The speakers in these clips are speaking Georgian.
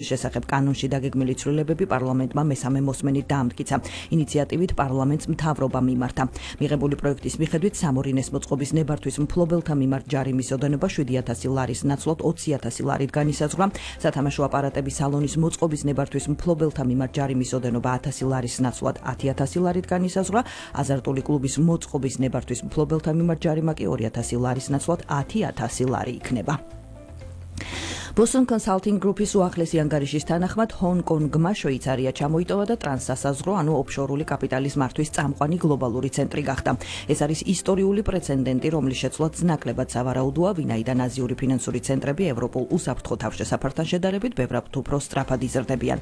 შესახებ კანონში დაგეგმილი ცვლილებები პარლამენტმა მესამე მოსმენით დაამტკიცა. ინიციატივით პარლამენტს მთავრობა მიმართა. მიღებული პროექტის მიხედვით სამორინეს მოწყობის ნებართვის მფლობელთა მიმართ ჯარიმის ოდენობა 7,000 ლარის ნაცვლად 20,000 ლარით განისაზღვრა. სათამაშო აპარატების სალონის მოწყობის ნებართვის მფლობელთა მიმართ ჯარიმის ოდენობა 1000 ლარის ნაცვლად 10,000 ლარით განისაზღვრა. აზარტული კლუბის მოწყობის ნებართვის მფლობელთა მიმართ ჯარიმა კი 2,000 ლარის ნაცვლად 10,000 ლარი იქნება. Boston Consulting Group-ის უახლესი ანგარიშის თანახმად ჰონკონგმა შვეიცარია ჩამოიტოვა და ტრანსსასაზღვრო ანუ ოფშორული კაპიტალის მართვის წამყვანი გლობალური ცენტრი გახდა. ეს არის ისტორიული პრეცედენტი, რომლის შეცვლაც ნაკლებად სავარაუდოა, ვინაიდან აზიური ფინანსური ცენტრები ევროპულ უსაფრთხო თავშესაფართან შედარებით ბევრად უფრო სწრაფად იზრდებიან.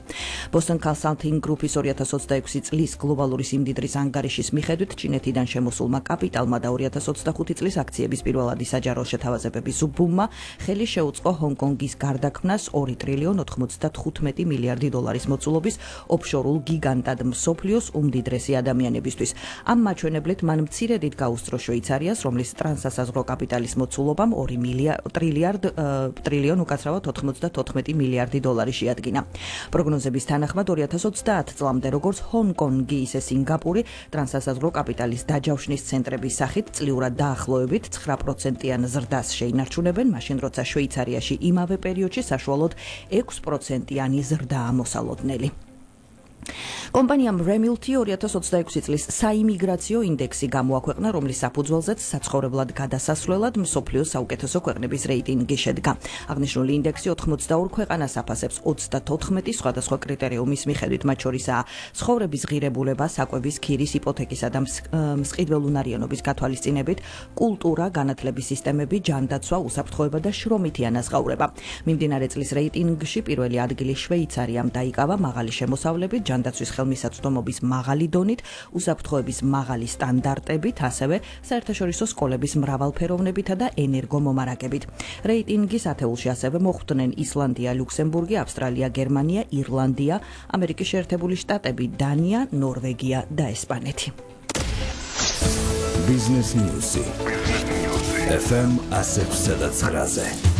Boston Consulting Group-ის 2026 წლის გლობალური სიმდიდრის ანგარიშის მიხედვით ჩინეთიდან შემოსულმა კაპიტალმა და 2025 წლის აქციების პირველადი საჯარო შეთავაზებების ბუმმა ხელი შეუწყო ჰონკონგის გარდაქმნას 2 ტრილიონ 95 მილიარდი დოლარის მოწულობის ოფშორულ გიგანტად მსოფლიოს უმდიდრესი ადამიანებისთვის. ამ მაჩვენებლით მან მცირედით გაუსწრო შვეიცარიას, რომლის ტრანსსასაზღვრო კაპიტალის მოწულობამ 2 ტრილიონ უკაცრავად 94 მილიარდი დოლარი შეადგინა. პროგნოზების თანახმად 2030 წლამდე როგორც ჰონკონგი, ისე სინგაპური ტრანსსასაზღვრო კაპიტალის დაჯავშნის ცენტრების სახით წლიურად დაახლოებით 9%-იან ზრდას შეინარჩუნებენ, მაშინ როცა შვეიცარიაში იმავე პერიოდში საშუალოდ 6%-იანი ზრდაა მოსალოდნელი. კომპანიამ Remilty 2026 წლის საიმიგრაციო ინდექსი გამოაქვეყნა, რომლის საფუძველზეც საცხოვრებლად გადასასვლელად მსოფლიოს საუკეთესო ქვეყნების რეიტინგი შედგა. აღნიშნული ინდექსი 82 ქვეყანას აფასებს 34 სხვადასხვა კრიტერიუმის მიხედვით, მათ შორისაა ცხოვრების ღირებულება, საკვების, ქირის, იპოთეკისა და მსყიდველუნარიანობის გათვალისწინებით, კულტურა, განათლების სისტემები, ჯანდაცვა, უსაფრთხოება და შრომითი ანაზღაურება. მიმდინარე წლის რეიტინგში პირველი ადგილი შვეიცარიამ დაიკავა მაღალი შემოსავლებით, ჯანდაცვის ხელმისაწვდომობის მაღალი დონით, უსაფრთხოების მაღალი სტანდარტებით, ასევე საერთაშორისო სკოლების მრავალფეროვნებითა და ენერგომომარაგებით. რეიტინგის ათეულში ასევე მოხვდნენ ისლანდია, ლუქსემბურგი, ავსტრალია, გერმანია, ირლანდია, ამერიკის შეერთებული შტატები, დანია, ნორვეგია და ესპანეთი. Business News. FM 100.9.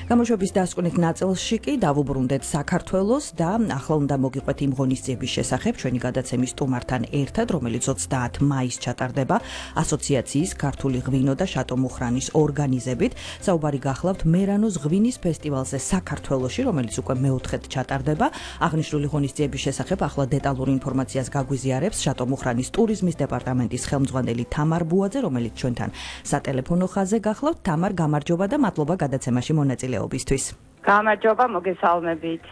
გამოშვების დასკვნით ნაწილში კი დავუბრუნდეთ საქართველოს და ახლა უნდა მოგიყვეთ იმ ღონისძიების შესახებ ჩვენი გადაცემის სტუმართან ერთად, რომელიც 30 მაისს ჩატარდება ასოციაციის ქართული ღვინო და შატომუხრანის ორგანიზებით. საუბარი გახლავთ მერანოს ღვინის ფესტივალზე საქართველოში, რომელიც უკვე მეოთხედ ჩატარდება. აღნიშნული ღონისძიების შესახებ ახლა დეტალურ ინფორმაციას გაგვიზიარებს შატომუხრანის ტურიზმის დეპარტამენტის ხელმძღვანელი თამარ ბუაძე, რომელიც ჩვენთან სატელეფონო ხაზზე გახლავთ. თამარ, გამარჯობა და მადლობა გადაცემაში მონაწილეობისთვის. გამარჯობა, მოგესალმებით.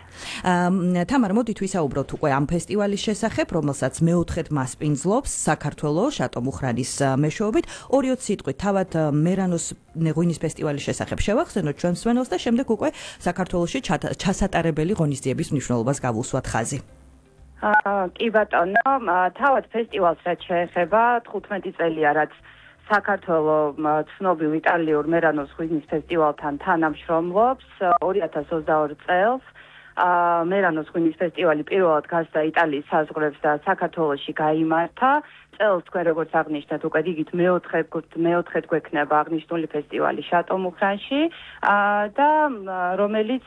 თამარ, მოდით ვისაუბროთ უკვე ამ ფესტივალის შესახებ, რომელსაც მეოთხედ მასპინძლობს საქართველოს შატომუხრანის მეშვეობით. 2 სიტყვით თავად მერანოს ღვინის ფესტივალის შესახებ შევახსენოთ ჩვენ მსმენელს და შემდეგ უკვე საქართველოში ჩასატარებელი ღონისძიების მნიშვნელობას გავუსვათ ხაზი. კი ბატონო, თავად ფესტივალს რაც შეეხება 15 წელია, რაც საქართველოს ცნობილ იტალიურ მერანოს ღვინის ფესტივალთან თანამშრომლობს. 2022 წელს მერანოს ღვინის ფესტივალი პირველად გასდა იტალიის საზღვრებს და საქართველოში გაიმართა. წელს თქვენ როგორც აღნიშნეთ, უკვე რიგით მეოთხედ გვექნება აღნიშნული ფესტივალი შატომუხრანში და რომელიც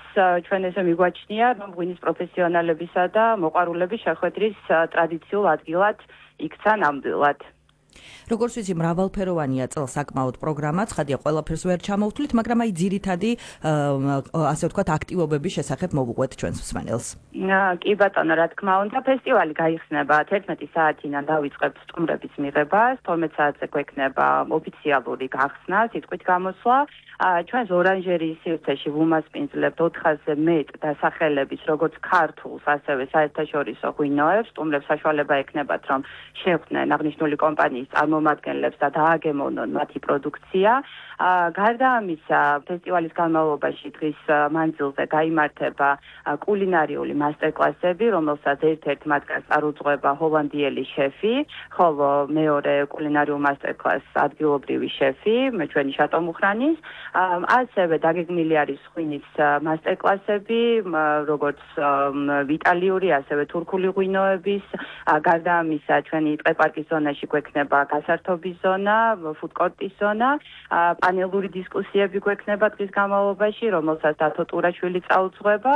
ჩვენ ესე მიგვაჩნია, რომ ღვინის პროფესიონალებისა და მოყვარულების შეხვედრის ტრადიციულ ადგილად იქცა ნამდვილად. როგორც ვიცი, მრავალფეროვანია წელს საკმაოდ პროგრამა, ცხადია ყველაფერს ვერ ჩამოვთვლით, მაგრამ აი ძირითადი ასე ვთქვათ აქტივობების შესახებ მოვუყვეთ ჩვენს მსმენელს. კი ბატონო, რა თქმა უნდა, ფესტივალი გაიხსნება 11 საათიდან დავიწყებთ სტუმრების მიღებას, 12 საათზე გვექნება ოფიციალური გახსნა, სიტყვით გამოსვლა. ჩვენს ორანჟერიის სივრცეში ვუმასპინძლებთ 400-ზე მეტ დასახელების, როგორც ქართულს, ასევე საერთაშორისო ღვინოებს. სტუმრებს საშუალება ექნებათ, რომ შეხვდნენ აღნიშნული კომპანიის წარმომადგენლებს და დააგემოვნონ მათი პროდუქცია. გარდა ამისა, ფესტივალის განმავლობაში დღის მანძილზე გაიმართება კულინარიული მასტერკლასები, რომელსაც ერთ-ერთ მათგანს წარუძღვება ჰოლანდიელი შეფი, ხოლო მეორე კულინარიულ მასტერკლასს ადგილობრივი შეფი, ჩვენი შატომუხრანის. ასევე დაგეგმილი არის ღვინის მასტერკლასები, როგორც იტალიური, ასევე თურქული ღვინოების. გარდა ამისა, ჩვენი ტყეპარკის ზონაში გვექნება გვექნება გასართობის ზონა, ფუდკორტის ზონა, პანელური დისკუსიები გვექნება დღის განმავლობაში, რომელსაც დათო ტურაშვილი წაუძღვება.